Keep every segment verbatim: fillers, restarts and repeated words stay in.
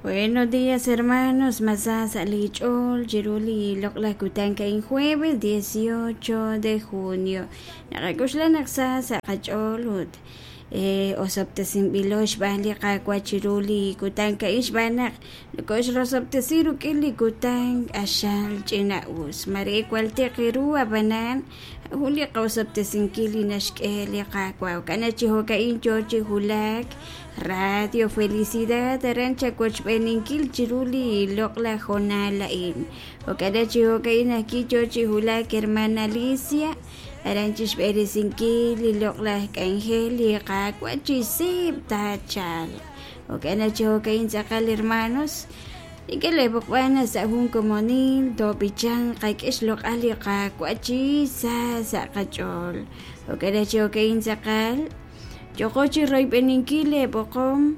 Buenos días, hermanos. Masa sa' li ch'ool chiru li loq'laj kutan ka'in jueves dieciocho de junio. Naqak'oxla naq sa sa' qach'ool ut osob'tesinb'ilo xb'aan li Qaawa' chiru li kutan ka'in xb'aan naq nokoxrosob'tesi rik'in li kutan q'axal ch'ina'us. Mare waltiq ru ab'anan jun li qosob'tesinkil li naxk'e li Qaawa'. Jo'kan naq chi jo'ka'in yoo chi wulak Radio Felicidad aran chawochb'eeninkil chiru li loq'laj hoonal a'in. Jo'kan naq chi jo'ka'in ajwi' yoo chi wulak hermana Alicia aran chixb'eresinkil li loq'laj k'anjel li Qaawa' chi seeb' taachalq. Jo'kan naq chi jo'ka'in tz'aqal hermanos nikeleb'oqb'an sa' jun komonil toob'ichan qak'e xloq'al li Qaawa' chi sa sa' qach'ool. Jo'kan naq chi jo'ka'in tz'aqal yoqo chi royb'eninkil leb'oqom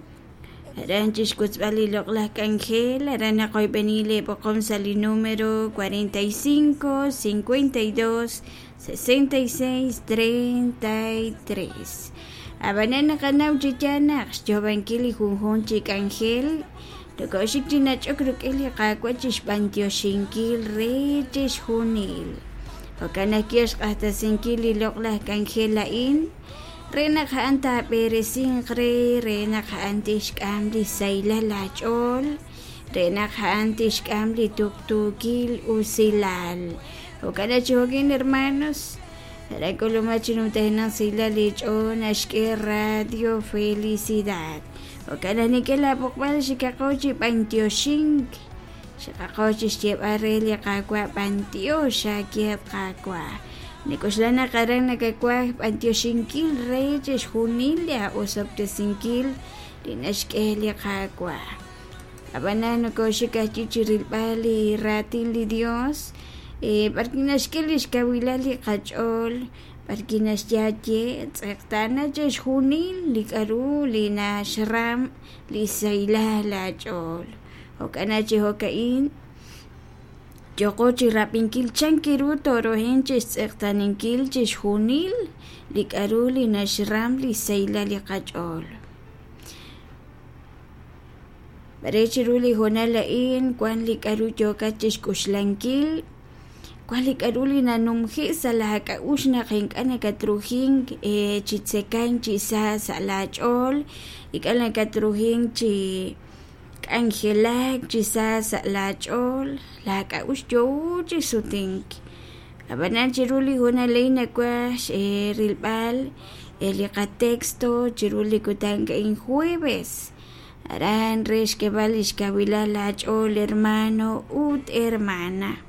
aran chixkutzb'al li loq'laj k'anjel aran naqoyb'eni leb'oqom sa' li número cuarenta y cinco, cincuenta y dos, sesenta y seis, treinta y tres. Ab'anan naqanaw chi yaal naq xyoob'ankil li junjun chi k'anjel tokoxik chi nach'ok rik'in li Qaawa' chixb'antioxinkil re chixjunil. Jo'kan naq kixq'axtesinkil li loq'laj k'anjel a'in re naq a'an taab'eresinq re re naq a'an tixk'am li saylal aach'ool re naq a'an tixk'am li tuktuukil usilal. Jo'kan naq chi jo'kin hermanos rak'uluma chi numtajenaq saylal li ch'ool naxk'e Radio Felicidad. Jo'kan naq nikelab'oqb'al xikaqo chi b'antioxink xikaqo chi xyeb'al re li Qaawa' b'antiox akeeb' Qaawa'. Nik'oxla naq aran nakawaj b'antioxinkil re chixjunil li aosob'tesinkil li naxk'e li Qaawa'. Ab'anan nokoxik ajwi' chi rilb'al li raatin li Dios b'arki naxk'e li xkawilal li qach'ool b'arki naxyaye tz'eqtana chixjunil li k'aru li naxram li saylal aach'ool. Jo'kan naq chi jo'ka'in yoqo chi rab'inkil chankiru torohin chixtz'eqtaninkil chixjunil li k'aru li naxram li saylal li qach'ool. Bare chiru li hoonal a'in wan li k'aru yookat chixk'uxlankil wan li k'aru li nanumji sa' laak'a'ux naq ink'a' nakatrujink chi tzekan chi sa sa' laach'ool ink'a' nakatrujink chi k'anjelak chi sa sa' laach'ool laak'a'ux yoo chi sutink. Ab'anan chiru li hoonal a'in nawaj rilb'al li qatexto chiru li kutan ka'in jueves aran re xk'eb'al li xkawilal laach'ool hermano ut hermana.